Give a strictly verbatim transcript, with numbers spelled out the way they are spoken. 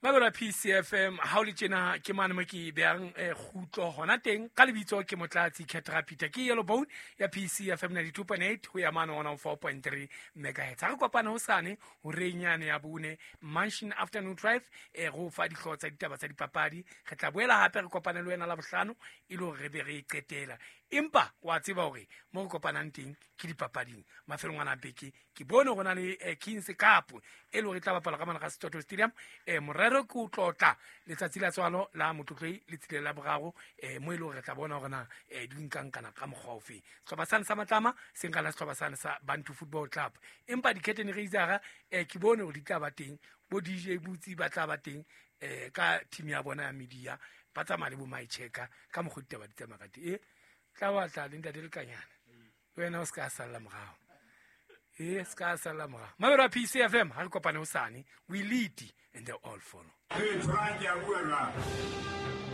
Mabelo a P C F M ha o le tjena ke mane mo ke behang eh, kgutlo hona teng ka lebitso ke Motlatsi Ketra Peter ke Yellow Bone ya P C F M ninety-two point eight ho ya mane one oh four point three megahertz. Ha re kopane hosane horeng yane ya bone Mansion Afternoon Drive eh go fa dihlooho tsa ditaba tsa dipapadi. Re tla boela hape re kopane le wena la bohlano e le hore re be re e qetela. Empa wa tseba hore mo re kopanang teng ke dipapading mafelong ana a beke ke bone hore na le eh, Kings Cup e le hore e tla bapalwa ka mane ga Setoto Stadium eh morero ke o tlotla letsatsi la tswalo la Motlotlei le tsile la boraro eh mo e le hore re tla bona hore na eh di nkankana ka mokgwa ofe. Sehlopha sane sa Matlama se nka la sehlopha sane sa Bantu Football Club empa di-curtain raiser eh ke bone hore di tla ba teng bo D J Butsi ba tla ba teng eh ka team ya bona ya media ba tsamaya le bo my checker ka mokgwa ditaba di tsamaya ka teng. Eh tla batla le ntate Lekanyana le wena o se ka salla morao eh se ka salla morao. Mabelo a P C F M ha re kopane hosane, we lead and they all follow. Hey, Frank, ya bua jwang?